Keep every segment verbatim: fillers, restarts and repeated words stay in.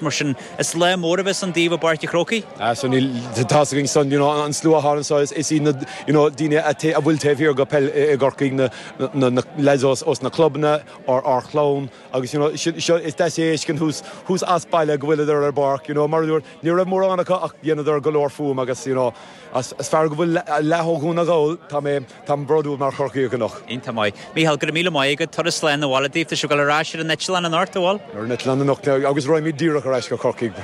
Mar sin is lá mór a bheas ann daoibh i bPáirc an Chrócaigh. Ah, so níl tá againn san you know, an slua thar so is, is iad na you know, daoine a bhfuil taobh thiar go peil i gCorcaigh na, na, na lads os, os na clubanna ár ár chlann agus you know, seo is deas é thuas thuas as baile go bhfuileadar ar bpáirc you know, mar dúirt ní raibh mórán acu ach dhéanadar go leor fuaim agus you know, as, as fearr go bhfuil leath ó Dhún na nGall tá mé tá bródúil mar Chorcaíoch anocht. Iontach maith. Mícheál go raibh míle maith agat turas slán abhaile daoibh tá sibh ag dul ar ais ar an eitleán anocht an bhfuil? Ar an eitleán anocht agus raghaimid díreach ar ais go Corcaigh.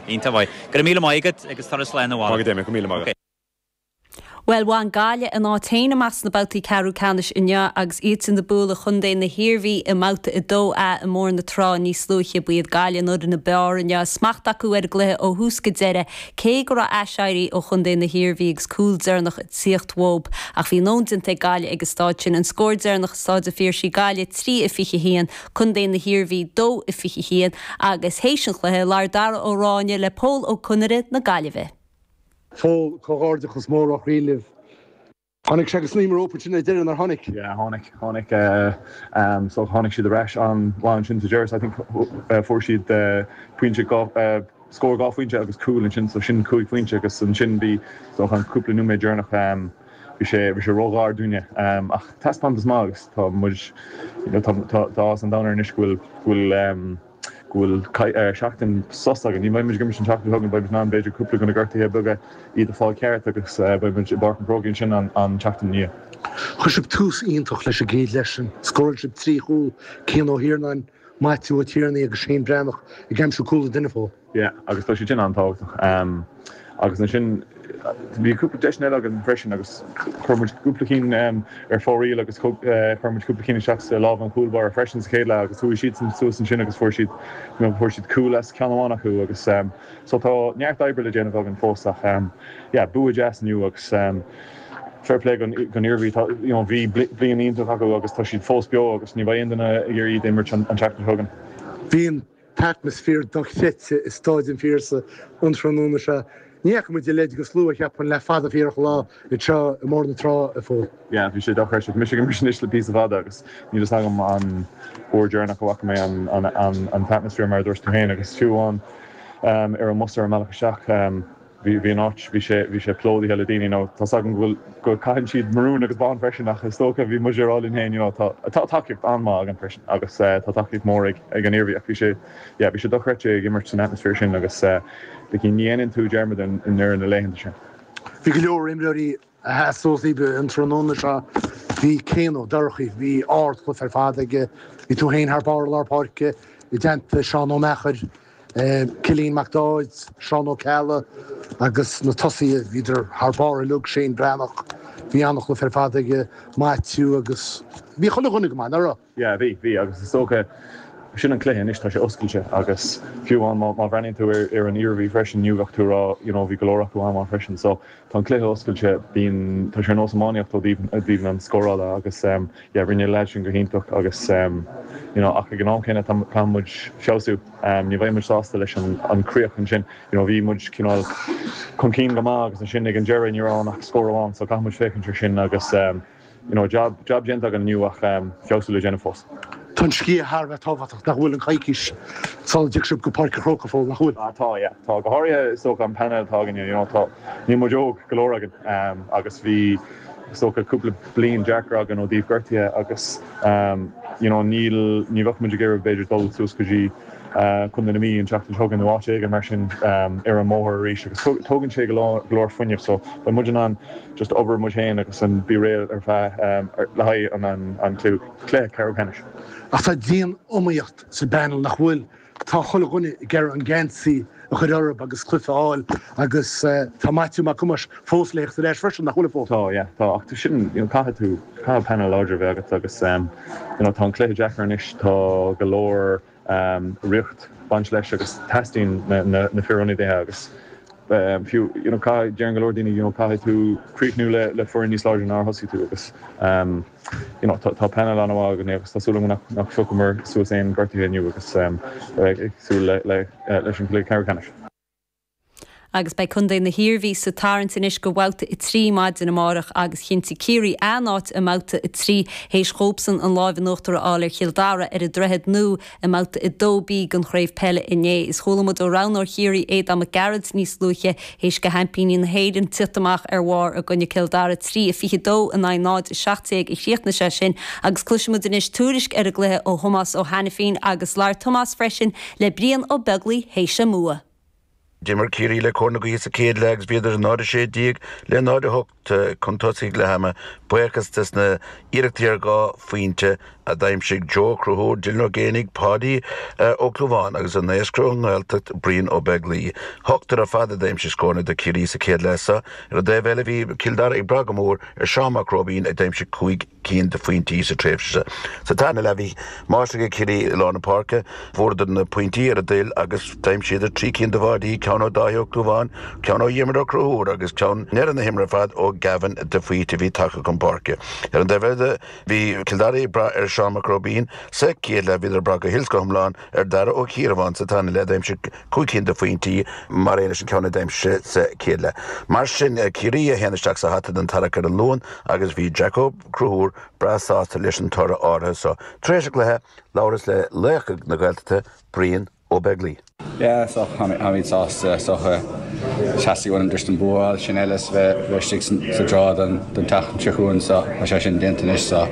Iontach maith. Go raibh míle maith agat agus turas slán abhaile. Maith go míle maith. Well bhain Gaillimh a n-áit féin amach sna babhtaí ceathrú ceannais inniu agus iad ag bualadh chontae na hIarmhí i mbabhta a dó A i mBóthar na Trá níos luaithe ba iad Gaillimh an fhoireann ab fhearr inniu smacht acu ar an gcluiche ó thús go deireadh cé go raibh aiséirí ó chontae na hIarmhí agus cúl deireanach ag tíocht uathu ach bhí nóin déanta ag Gaillimh ag an staid sin an scór deireanach Staid an Phiarsaigh Gaillimh trí a fiche haon Contae na hIarmhí dó a fiche haon agus théis an chluiche labhair Dara Ó Ráinne le Pól Ó Conaire na Gaillimhe. Pól comhghairdeachas mór ó chroí libh. Tháinig sé go snaidhm rompu sin ar deireadh nár tháinig. Yeah, tháinig tháinig uh, um, so tháinig siad ar ais an-mhaith ansin sa deireadh I think uh, fuair siad uh, pointe uh, scór dhá phointe agus cúl ansin so sin cúig phointe agus ansin bhí so an cúpla nóiméad deireanach um, bhí sé bhí sé róghar dúinne um, ach taispeántas maith agus tá muid you know, tá tá an domhan anois go bhfuil go bhfuil um, go bhfuil uh, seachtain sos againn ní bheidh muid an tseachtain chugainn beidh ná b'fhéidir cúpla gona gortuithe beaga iad a fáil ceart agus uh, beidh muid i bPáirc an Chrócaigh sin an, an tseachtain ina dhiaidh. Chuir sibh tús iontach leis an gcéad leath sin, scóráil sibh trí chúl Cian Ó hIarnáin, Maitiú Ó Tiarnaigh agus Shane Breathnach ag aimsiú cúl an duine Phól. Yeah, agus tá sé sin an-tábhachtach. Um, agus ansin bhí cúpla deis eile againn freisin agus chuir muid cúpla cinn um, ar fóraoil agus uh, chuir muid cúpla cinn isteach sa lámh an chúlbáire freisin sa chéad leath agus chuaigh siad suas ansin agus fuair siad fuair siad cúl as ceann amháin acu agus um, so tá neart oibre le déanamh againn fós ach um, yeah, bua deas inniu agus um, fair play don don Iarmhí you know, bhí bliain iontach acu agus tá siad fós beo agus ní bheidh aon duine ag iarraidh iad imirt an tseachtain seo chugainn. Bhí an t-atmaisféar dochreidte i Staid an Phiarsaigh an tráthnóna seo. Ní fhaca muid a leithéid de shlua cheapfainn le fada fíorach lá anseo i mBóthar na Trá a Phóil. Yeah, bhí sé dochreidte mise ag imirt anois le píosa fada agus níl fhios agam an uair dheireanach a bhfaca mé an an an an t-atmaisféar mar dúirt tú féin agus fiú an um, ar an mbus ar an mbealach isteach um, bhí bhí an áit bhí sé bhí sé plódaithe le daoine nó tá agam go bhfuil go caitheann siad marún agus bán freisin ach is dócha bhí muid ar linn féin you know, tá tá tacaíocht an-mhaith againn freisin agus uh, tá tacaíocht mór ag ag an Iarmhí ach bhí sé yeah, bhí sé dochreidte ag imirt san atmaisféar sin agus uh, ní dhéanann tú dearmad in in ar na laethanta sin. Bhí go leor imreoirí a sheas suas an tráthnóna seo bhí Cian Ó Dorchaí, bhí ardchluiche ar fad aige, bhí tú féin thar barr lár páirce i dteannta Seán Ó Meachair, Cillian Mac Dáid, Seán Ó Ceallaigh agus na tosaithe bhíodar thar barr uilig Shane Breathnach, bhí an-chluiche ar fad aige Maitiú agus bhí chuile dhuine go maith nach raibh. Yeah, bhí bhí agus is dócha sin an cluiche anois tá sé oscailte agus fiú an má bhreathnaíonn tú ar ar an Iarmhí freisin inniu bheadh tú rá you know, bhí go leor acu an freisin so tá an cluiche oscailte bíonn tá sé nós iománaíocht ó thaobh an scórála agus um, yeah, rinne leaid sin go hiontach agus um, you know, ach ag an am céanna tá muid feabhsú um, ní bheidh muid sásta leis an, an críoch ansin you know, bhí muid cineál chun cinn go maith agus ansin ag an deireadh ní raibh ach scór amháin so caithfidh muid féachaint ar sin agus um, you know, job, job déanta againn inniu ach um, feabhsú le déanamh fós. Tá an sciath thar bheith tábhachtach nach bhfuil an coicís sula dtig sibh go Páirc an Chrócaigh Phól nach bhfuil. Ah, tá yeah, tá go háirithe is dócha an panel atá againn you know, tá ní muid óg go leor againn um, agus bhí is dócha cúpla bliain deacair againn ó thaobh gortuithe agus um, you know, níl ní bheadh muid ag iarraidh b'fhéidir dul suas go dtí uh, Contae na Mí an tseachtain seo chugainn nó áit éigin mar sin um, ar an mbóthar arís agus tógann sé go leor fuinnimh so beidh muid in ann just obair muid féin agus an bí réidh ar feadh um, le haghaidh an an, an cluiche ceathrú ceannais. Ach tá dian-iomaíocht sa bpanel nach bhfuil tá chuile dhuine ag iarraidh an geansaí a chur orthu agus cluiche a fháil agus uh, tá Maitiú Mac Cumas fós léocht leis freisin nach bhfuil fós. Tá yeah, tá ach sin you know, caithfidh tú caithfidh panel láidir bheith agat agus um, you know, tá an cluiche deacair anois tá go leor um, riocht baint leis agus teastaíonn na, na, na fir ionadaithe agus um, fiú you know, deireann go leor daoine you know, caithfidh tú críochnú le, le foireann níos láidre ná thosaigh tú agus um, you know, tá, tá panel an-mhaith againn agus tá súil nach nach phiocamar suas aon gortuithe inniu agus um, ag súil le, le, leis an cluiche ceathrú ceannais. Agus beidh Contae na hIarmhí sa tarraingt anois go bhabhta a trí maidin amárach agus chinntigh Ciarraí a n-áit i mbabhta a trí théis dhóibhsean an lámh in uachtar a fháil ar Chill Dara ar an Droichead Nua i mbabhta a dó B den chraobh peile inné. Is chuala muid ó roghnóir Chiarraí Aodán Mac Gearailt níos luaithe théis do sheaimpíní na hÉireann tíocht amach ar bharr i gcoinne Cill Dara trí a fiche dó in aghaidh náid a seacht déag a chríochnaigh sé sin agus cloisfidh muid anois tuairisc ar an gcluiche ó Thomás Ó hAiniféin agus labhair Tomás freisin le Brian Ó Beaglaoi théis an mbua. D'imir Ciarraí le cóir na gaoithe sa chéad leath agus bhíodar náid a sé déag le náid a hocht chun tosaigh leath ama buíochas des na hiarrachtaí ar dhá phointe a d'aimsigh Joe Conchúir, Dylan Ó Géanaigh, Paddy Ó Clúmháin agus an naoscra ón nGaeltacht Brian Ó Beaglaoi. Ochtar ar fad a d'aimsigh scóranna do Chiarraí sa chéad leath seo. Ar an dtaobh eile bhí Cill Dara ag brath go mór ar Seán Mac Róibín a d'aimsigh cúig cinn de phointí sa tréimhse. Sa tarna leath bhí máistreacht ag Ciarraí i lár na páirce, fuaireadar na pointí ar a dtoil agus d'aimsíodar trí cinn de bháidí ceann ó Dáithí Ó Clúmháin, ceann ó Dhiarmuid Ó Conchúir agus ceann i ndeireadh na himeartha ar fad ó Gavin de Faoite a bhí tagtha chun páirce. Ar an dtaobh eile bhí Cill Dara ag brath ar Seán Mac Róibín sa chéad leath bhíodar ag brath go huile is go hiomlán ar Dara Ó Ciarmháin sa tarna leath d'aimsigh cúig cinn de phointí mar aon leis an ceann a d'aimsigh sa chéad leath. Mar sin Ciarraí a théann isteach sa hata don tarrac ar an Luan agus bhí Jack Ó Conchúir breá sásta leis an toradh áirithe seo. Tar éis an chluiche labhras le laoch na Gaeltachta Brian Ó Beaglaoi. Yeah, so táimid sásta so theastaigh uainn just an bua sin eile bheith bheith sa draw don don tseachtain seo chugainn so tá sé sin déanta anois so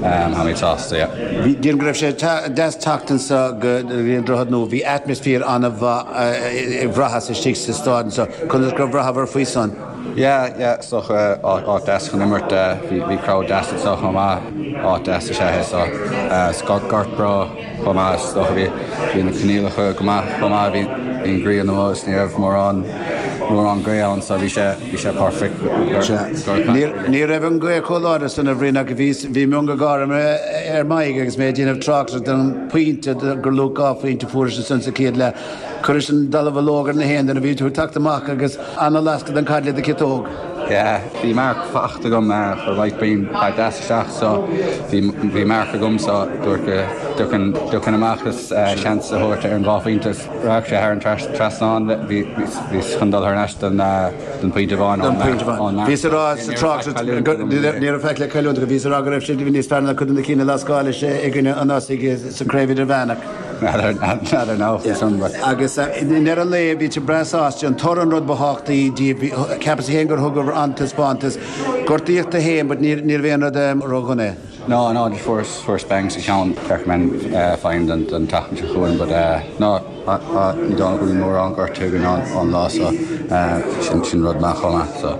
táimid sásta yeah. Bhí déan go raibh sé deas teacht anseo go an Droichead Nua bhí atmaisféar an-mhaith bhraitheas istigh sa staid so conas gur bhraitheabhair faoi san. Yeah, yeah, so áit deas chun imirt bhí bhí crowd deas so chomh maith áit deas is ea so Scott gort breá chomh maith so bhí bhí na coinníollacha go maith chomh maith bhí bhí an ghrian amuigh ní raibh mórán mórán gaoth ann so bhí sé bhí sé perfect. Ní raibh an ghaoth chomh láidir san a Bhriain ach bhí bhí mionga gáire ar m'aghaidh agus mé ag déanamh tráchtaire den pointe gur luach dhá phointe fuair san sa chéad leath. Chuir sin dallamullóg ar na haon duine bhí tú teacht amach agus an-lascadh den caid le do chiotóg. Yeah, bhí marc fachta agam chuir Mike Breen pass deas isteach so bhí bhí marc agam so dúirt dúcan amach is seans a thabhairt ar an dhá phointe raibh sé thar an trasnán bhí bhí chun dul thar n-ais don don pointe amháin Bhí sa rá sa trácht ní raibh feic le cailliúint go bhí sa rá go raibh sé níos fearr ná cuid de na cinn a lascáil sé i gcoinne an Osaigh sa chraobh idirmheánach. N'fheadar ná Agus i ndeireadh an lae bhí tú breá sásta an toradh an rud ba thábhachtaí díobh ceapas féin gur thug an taispeántas gortaíodh tú féin, but ní ní raibh aon rud ródhona. No, no, just fuair fuair bang sa cheann men fine don don tseachtain seo chugainn, but uh, no ní dóigh go bhfuil mórán gortú againn an lá so sin sin rud maith chomh maith so.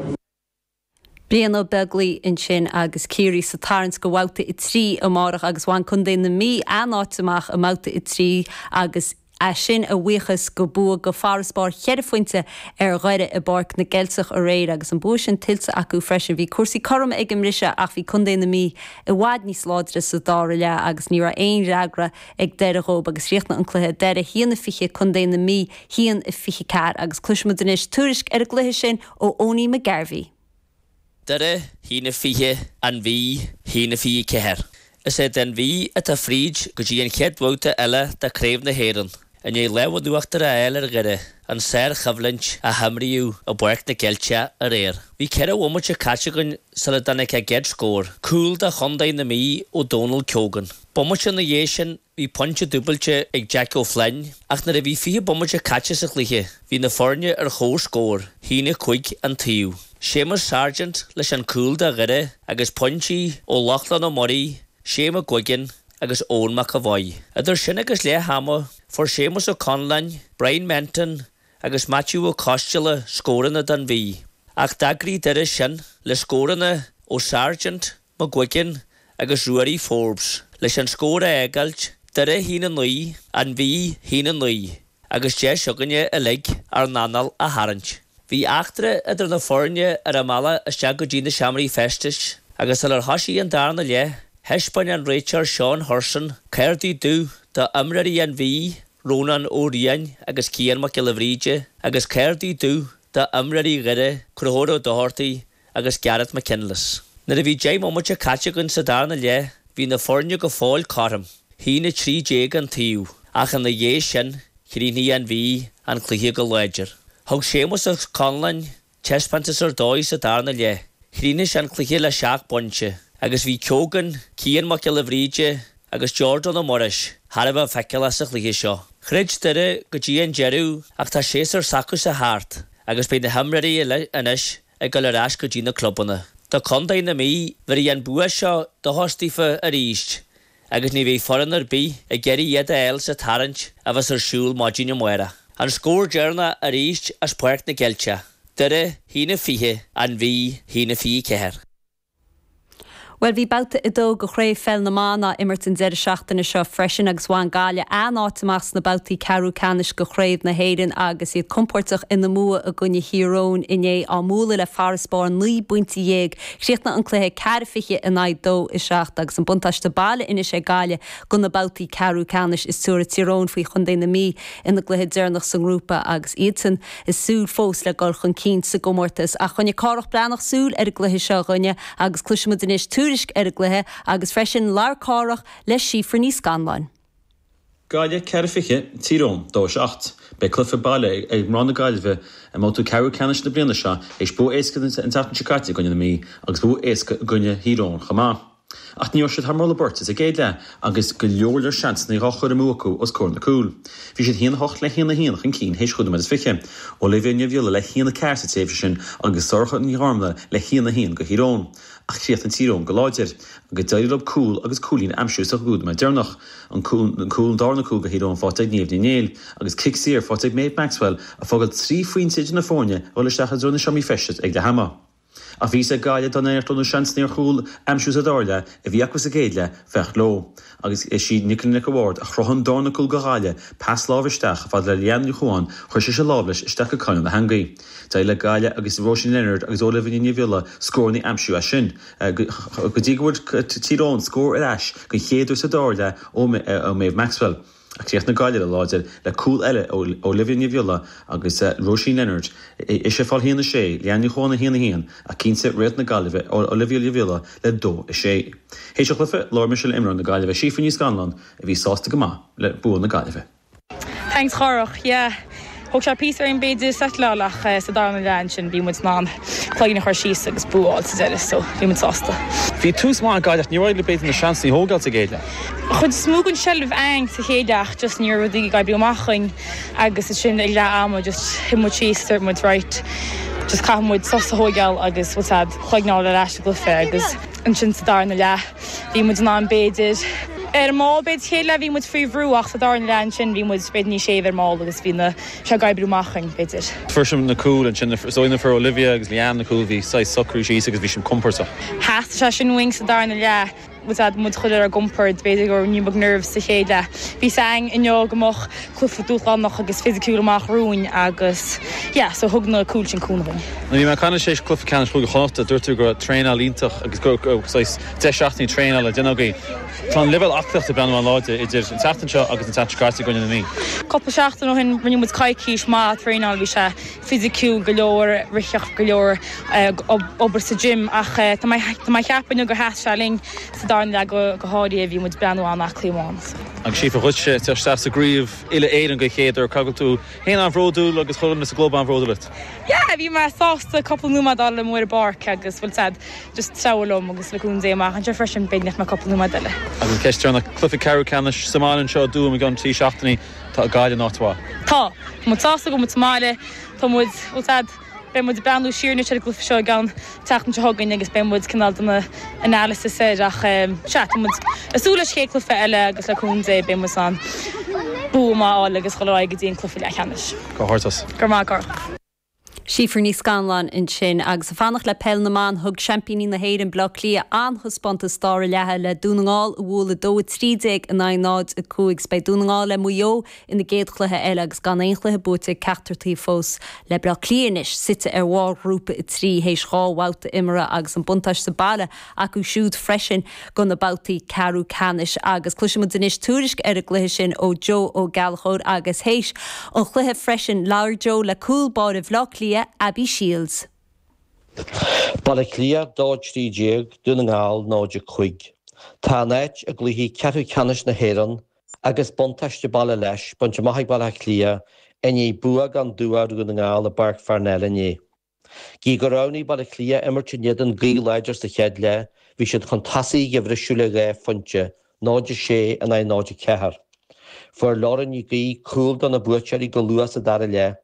Brian Ó Beaglaoi ansin agus Ciarraí sa tarraingt go bhabhta a trí amárach agus bhain Contae na Mí a n-áit amach i mbabhta a trí agus é sin a bhuíochas go bua go farasbarr cheithre phointe ar Dhoire i bPáirc na gCeilteach aréir agus an bua sin tuillte acu freisin. Bhí cúrsaí cothrom ag an mbriseadh ach bhí Contae na Mí i bhfad níos láidre sa dara leath agus ní raibh aon fhreagra ag Doire dhóibh agus chríochnaigh an cluiche Doire a haon a fiche Contae na Mí a haon a fiche ceathair agus cloisfimid anois tuairisc ar an gcluiche sin ó Owenie McGarvey. Doire a haon a fiche an Mhí a haon a fiche ceathair. Is é an Mhí atá fríd go dtí an chéad bhabhta eile de Chraobh na hÉireann. I ndiaidh lámh in uachtar a fháil ar Dhoire an sárchoimhlint a himríodh i bPáirc na gCeilteach aréir. Bhí ceithre bhomaite caite againn sula dtáinig an chéad scór, cúl do Chontae na Mí ó Donal Keogan. Bomaite ina dhiaidh sin bhí pointe dúbailte ag Jack O'Flynn, ach nuair a bhí fiche bomaite caite sa chluiche, bhí na foirne ar chomhscór, a haon a cúig an taobh. Séamus Sargent leis an cúl do Dhoire agus pointí ó Lochlann Ó Muirí, Shane McGuigan agus Eoin McAvoy. Idir sin agus leath ama fuair Séamus Ó Conláin, Brian Menton agus Matthew Ó Coisteala scóranna don Mhí. Ach d'fhreagair Doire sin le scóranna ó Sargent, McGuigan agus Ruairí Forbes, leis an scór a fhágáilt Doire a haon a naoi an Mhí a haon a naoi, agus deis againne uilig ár n-anáil a tharraingt. Bhí eachtra idir na foirne ar an mbealach isteach go dtí na seomraí feistis, agus sular thosaigh an darna leath, thaispeáin an réiteoir Seán Hurson cártaí dubh d'imreoirí an Mhí, Rónán Ó Riain agus Cian Mac Giolla Bhríde, agus cártaí dubh d'imreoirí Dhoire, Conchúr Ó Dochartaigh agus Gareth McKinless. Nuair a bhí deich mbomaite caite againn sa darna leath, bhí na foirne go fóill cothrom, a haon a trí déag an taobh, ach ina dhiaidh sin, chríochnaigh an Mhí an cluiche go láidir. Thug Séamus Ó Conláin taispeántas ar dóigh sa darna leath. Chríochnaigh sé an cluiche le seacht bpointe agus bhí Keoghan, Cian Mac Giolla Bhríde agus Jordan Ó Muiris thar a bheith feiceálach sa chluiche seo. Throid Doire go dtí an deireadh ach tá séasúr s'acusa thart agus beidh na himreoirí uile anois ag dul ar ais go dtí na clubanna. Do chontae na Mí bhéarfaidh an bua seo dóchas daofa arís agus ní bheidh foireann ar bith ag iarraidh iad a fháil sa tarraingt a bheas ar siúl maidin amárach. An scór deireanach arís as Páirc na gCeilteach, Doire a haon a fiche, An Mhí a haon a fiche ceathair. Bhuel, bhí babhta a dó de Chraobh Pheil na mBan á imirt an deireadh seachtaine seo freisin agus bhain Gaillimh a n-áit amach sna babhtaí ceathrú ceannais de Chraobh na hÉireann agus iad compordach ina mbua i gcoinne Thír Eoghain inné á mbualadh le farasbarr naoi bpointe dhéag. Chríochnaigh an cluiche ceathair fiche in aghaidh dó a seacht agus an buntáiste baile anois ag Gaillimh do na babhtaí ceathrú ceannais is tabharfaidh Tír Eoghain faoi Chontae na Mí ina gcluiche deireanach sa ngrúpa agus iadsan ag súil fós le dul chun cinn sa gcomórtas. Ach choinnigh Cárthach Breathnach súil ar an gcluiche seo dhúinne agus cloisfimid anois tuairisc ar an gcluiche agus freisin labhair Cárthach le Síofra Ní Scanláin. Gaillimh ceathair fiche, Tír Eoghain dó seacht. Beidh cluiche baile ag mná na Gaillimhe i mbabhta ceathrú ceannais na bliana seo théis bua éasca an tseachtain seo caite i gcoinne na Mí agus bua éasca i gcoinne Thír Eoghain chomh maith. Ach ní raibh siad thar moladh beirte sa gcéad leath agus go leor leor seansanna á chur amú acu os comhair na cúl. Bhí siad haon a hocht le haon a haon chun cinn théis chúig nóiméad is fiche. Olivia Ní Bhiolla le haon a ceathair sa tréimhse sin agus Sorcha Ní Ghormlaith le haon a haon do Thír Eoghain. Ach chríochnaigh Tír Eoghain go láidir, agus d'éirigh leo cúl agus cúilín a aimsiú sa gcúig nóiméad deireanach. An cúl, an darna cúl do Thír Eoghain faighte ag Niamh Ní Néill, agus cic saor faighte ag Maeve Maxwell a fhágáil trí phointe idir na foirne ag dul isteach i dtreo na seomraí feistis ag leath ama. Ach bhí a fhios ag Gaillimh dá n-éireodh leo na seansanna ar chúl a aimsiú sa dara leath a bhí acu sa gcéad leath, bheadh leo. Agus is í Nicola Nic a' Bhaird a chruthaigh an darna cúl do Ghaillimh, pas láimhe isteach fad le Leanne Ní Chuan, chuir sise lámh leis isteach go coinneal na heangaí. D'éirigh le Gaillimh agus Róisín Leonard agus Olivia Ní Bhiolla scóranna a aimsiú as sin, go dtí go bhfuair Tír Eoghain scór ar ais den chéad uair sa dara leath ó Maeve Maxwell. Ach chríochnaigh Gaillimh láidir le cúl eile ó Olivia Ní Bhiolla agus Róisín Leonard, ise ag fáil a haon a sé, Leanne Ní Chuan a haon a haon, ach cinnte réalt na Gaillimhe, Olivia Ní Bhiolla le dó a sé. Théis an chluiche, labhair mise le imreoir na Gaillimhe, Síofra Ní Scanláin, a bhí sásta go maith le bua na Gaillimhe. Thanks Chárthach, yeah. Thóg sé píosa orainn b'fhéidir settleáil ach sa darna leath ansin bhí muid in ann cloigeann a chur síos agus bua a fháil sa deireadh so bhí muid sásta. Bhí tús maith ag Gaillimh, níor éirigh libh b'fhéidir na seansanna a thógáil sa gcéad leath. Chuid is mó den seilbh againn sa chéad leath ach just ní raibh rudaí ag oibriú amach chugainn agus ansin ag leath ama just shuigh muid síos dúirt muid right just caithfidh muid sos a thógáil agus bhfuil a fhios agat cloigeann a fháil ar ais sa gcluiche agus ansin sa darna leath bhí muid in ann b'fhéidir ar an mball b'fhéidir chéad leath bhí muid faoi bhrú ach sa darna leath ansin bhí muid b'fhéidir níos séimhe ar an mball agus bhí na sé ag oibriú amach chugainn b'fhéidir. Fuair sibh na cúil ansin is dóigh fuair Olivia agus Leanne na cúil bhí saghas socrú síos agus bhí sibh compordach. Theastaigh sé sin uainn sa darna leath bhfuil a fhios agat muid a chur ar ár gcompord b'fhéidir go raibh ní beag nerves sa chéad leath. Bhí a fhios againn inniu go mbeadh cluiche dúshlánach agus fisiciúil amach romhainn agus yeah so thug na cúil sin cúnamh dúinn. Nuair a bhí mé ag caint leat théis cluiche ceannais Chúige Chonnachta dúirt tú go raibh traenáil iontach agus go raibh saghas deich seachtainí traenála déanta agaibh. Tá an leibhéal aclaíochta ag breathnú an-láidir idir an tseachtain seo agus an tseachtain seo caite i gcoinne na Mí. Cúpla seachtain ó shin rinne muid coicís maith traenáil bhí sé fisiciúil go leor, ritheacht go leor, obair sa gym ach tá mé tá mé ag ceapadh inniu gur sheas sé linn sa darna leath go go háirithe bhí muid breathnú an-aclaí amháin. Agus Síofra dhuitse teacht isteach sa gcraobh uile-Éireann den chéad uair, caithfidh tú féin an-bhródúil agus chuile dhuine sa gclub an-bhródúil uait. Yeah, bhí mé sásta cúpla nóiméad a fháil amuigh ar an bpáirc agus bhfuil a fhios agat just treabhadh liom agus le cúnamh Dé amach anseo freisin b'fhéidir nach mbeidh cúpla nóiméad eile. Agus an ceist deireanach, cluiche ceathrú ceannais sa mbaile anseo i dTuaim i gceann trí seachtainí, tá Gaillimh in áit mhaith. Tá. Tá muid sásta go bhfuil muid sa mbaile, tá muid, bhfuil a fhios agat, beidh muid ag breathnú siar anois ar an gcluiche seo i gceann tseachtain seo chugainn agus beidh muid cineál ag déanamh analysis air ach sea, tá muid ag súil leis an chéad cluiche eile agus le cúnamh Dé beidh muid in ann bua maith a fháil agus dhul ar aghaidh go dtí an cluiche leathcheannais. Comhghairdeas. Go raibh maith agat. Síofra Ní Scanláin ansin agus ag fanacht le peil na mban thug seaimpíní na hÉireann Baile Átha Cliath an-taispeántas dara leatha le Dún na nGall a bhualadh dó a trí déag in aghaidh náid a cúig. Beidh Dún na nGall le Maigh Eo ina gcéad chluiche eile agus gan aon chluiche buaite ag ceachtar taobh fós le Baile Átha Cliath anois suite ar bharr ghrúpa a trí théis dhá bhabhta imeartha agus an buntáiste baile acu siúd freisin do na babhtaí ceathrú ceannais agus cloisfimid anois tuairisc ar an gcluiche sin ó Joe Ó Gallchóir agus théis an chluiche freisin labhair Joe le cúl báire Bhaile Átha Cliath Abby Shiels. Baile Átha Cliath dó trí déag Dún na nGall náid a cúig. Tá a n-áit i gcluichí ceathrú ceannais na hÉireann agus buntáiste baile leis bainte amach ag Baile Átha Cliath i ndiaidh bua gan dua ar Dhún na nGall i bPáirc Pharnell inné. Gidh gur roghnaigh Baile Átha Cliath imirt in éadan gaoth láidir sa chéad leath, bhí siad chun tosaigh ag a bhriseadh le dhá phointe, náid a sé in aghaidh náid a ceathair. Fuair Lauren Ní Ghaoith cúl do na buaiteoirí go luath sa dara leath.